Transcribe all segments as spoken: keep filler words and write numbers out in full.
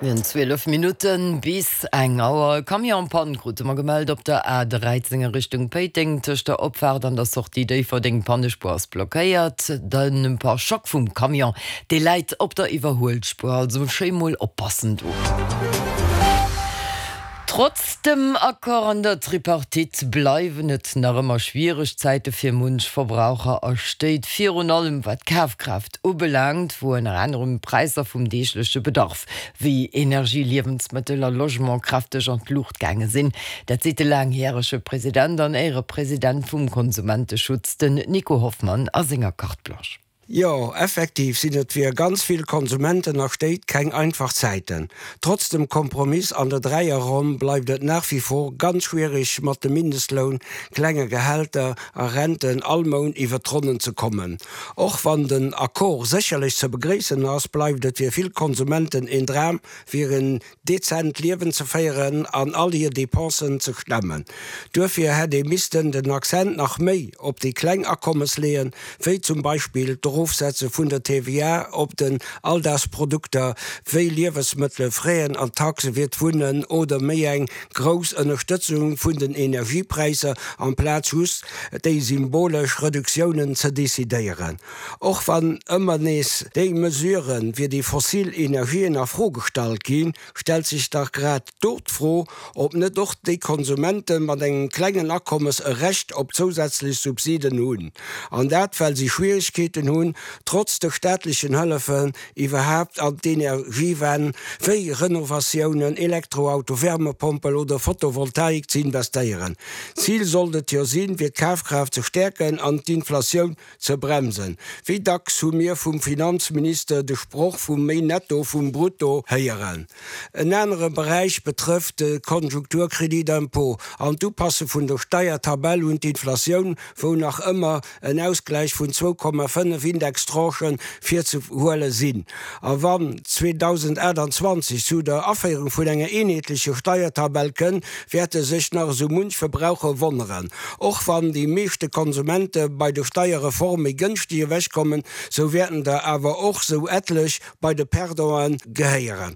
Mir hunn zwielef Minutten bis eng Auer. Camion en panne krute mer gemellt op der A dräizéng a Richtung Péiteng. Tëscht der Opfaart an der Sortie Déifferdeng. D'Pannespuer ass blockéiert. Den Pare-choc vum Camion, dee läit op der Iwwerhuelspuer. Also schéi mol oppassen do. Trotz dem Accord an der Tripartite bleiwen et nach ëmmer schwiereg Zäite fir munch Verbraucher a Stéit, virun allem wat d'Kafkraaft ubelaangt, wou ënner anerem d'Präisser vum deegleche Bedarf wéi Energie, Liewensmëttel a Logement kräfteg an d'Luucht gaange sinn. Dat seet de laangjärege President an Éierepresident vum Konsumenteschutz, den Nico Hoffmann a senger Carte Blanche. Jo, effektiv sinn et fir ganz vill Konsumenten a Stéit keng einfach Zäiten. Trotz dem Kompromiss an der Dräierronn bleift et nach wie vor ganz schwiereg mat dem Mindestloun, klenge Gehälter a Renten all Mount iwwer d'Ronnen ze kommen. Och wann den Accord sécherlech ze begréissen ass, bleift et fir vill Konsumenten een Dram fir en dezent Liewen ze féieren an all hir Depensen ze stemmen. Duerfir hätt ee missten den Accent nach méi op déi kleng Akommes leeën, wéi zum Beispill d'Erofsetze vun der T V A op den Alldagsprodukter wéi Liewesmëttele, Fräen an Taxe fir d'Wunnen oder méi eng grouss Ënnerstëtzung vun den Energiepräisser amplaz just déi symbolesch Reduktiounen ze decidéieren. Och wann ëmmer nees déi Mesurë fir déi fossil Energien a Fro gestallt ginn, stellt sech dach grad do d'Fro, ob net och déi Konsumente mat engem klengen Akommes e Recht op zousätzlech Subsiden hunn. An dat well si Schwieregkeeten hunn, trotz de staatlechen Hëllefen iwwerhaapt an d'Energiewend wéi Renovatiounen, Elektroauto, Wärmepompel oder Photovoltaik ze investéieren. Zil sollt et jo sinn, fir d'Kafkraaft ze stäerken an d'Inflatioun ze bremsen. Wéi dacks hu mir vum Finanzminister de Sproch vum méi Netto vum Brutto héieren. En anere Beräich betrëfft de Konjunkturcrédit d'impôt an d'Upasse vun der Steiertabell un d'Inflatioun, wou nach ëmmer en Ausgläich vun zwou Komma fënnef Indextranchen virzehuele sinn. A wann zweedausendaachtanzwanzeg zu der Aféierung vun enger eenheetlecher Steiertabell kënn, wäerte sech nach esou munch Verbraucher wonneren. Och wann déi meeschte Konsumente bei der Steierreform méi gënschteg ewechkommen, sou wäerten der awer och sou etlech bei de Perdante gehéieren.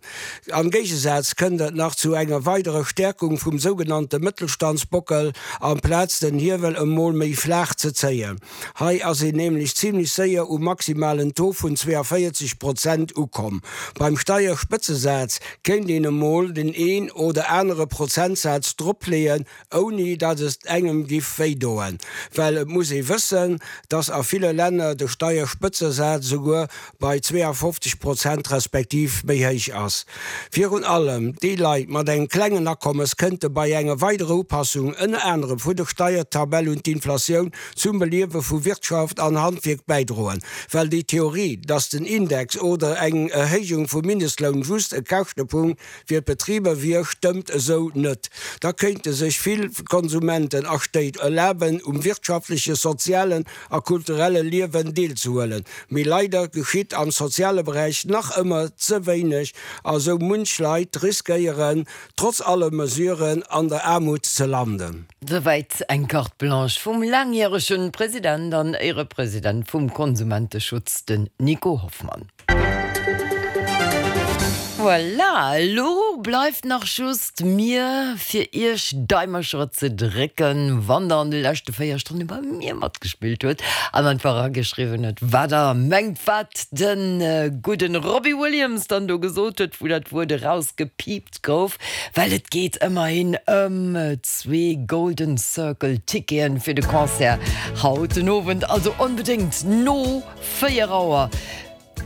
Am Géigesaz kënnt et nach zu enger weiderer Stäerkung vum sougenannte Mëttelstandsbockel, amplaz den Hiewel emol méi flaach ze zéien. Hei ass een nämlech zimlech séier um maximalen Taux vun zweeënvéierzeg Prozent ukomm. Beim Steierspëtzesaz kéint een emol den een oder anere Prozentsaz dropleeën, ouni datt et engem giff wéidoen. Well et muss ee wëssen, datt a ville Länner de Steierspëtzesaz souguer bei zweeënfofzeg Prozent respektiv méi héich ass. Virun allem déi Leit mat engem klengen Akommes kënnte bei enger weiderer Upassung, ënner anerem vun der Steiertabell un d'Inflatioun, zum Beliewe vu Wirtschaft an Handwierk bäidroen. Well déi Theorie, datt den Index oder eng Erhéijung vum Mindestloun just e Käschtepunkt fir d'Betriber wier, stëmmt esou net. Da kéinte sech vill Konsumenten a Stéit erlaben, um wirtschaftlechen, sozialen a kulturelle Liewen deelzehuelen. Mee leider geschitt am soziale Beräich nach ëmmer ze wéineg a sou munch Leit riskéieren, trotz alle Mesuren an der Aarmut ze landen. Souwäit eng Carte Blanche vum laangjärege President an Éierepresident vum Konsumenteschutz, den Nico Hoffmann. Voilà, elo bleift nach just mir fir iech Daimercher ze drécken, wann der an de leschte véier Stonne bei mir matgespillt hutt an einfach erageschriwwen hutt, wat der mengt, wat de gudden Robbie Williams dann do gesot huet, wou dat Wuert erausgepiipt gouf, well et geet ëmmerhin ëm zwee Golden Circle Ticketen fir de Concert haut den Owend, also onbedéngt no véier Auer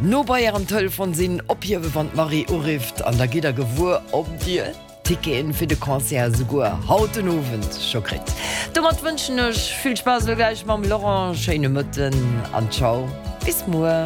no bei ärem Telefon sinn, ophiewe wann d'Marie urifft an da gitt der gewuer, ob dir Ticketen fir de Concert esouguer haut den Owend scho kritt. Domat wënschen ech vill Spaass elo gläich mam Laurent, schéine Mëtten an ciao, bis muer.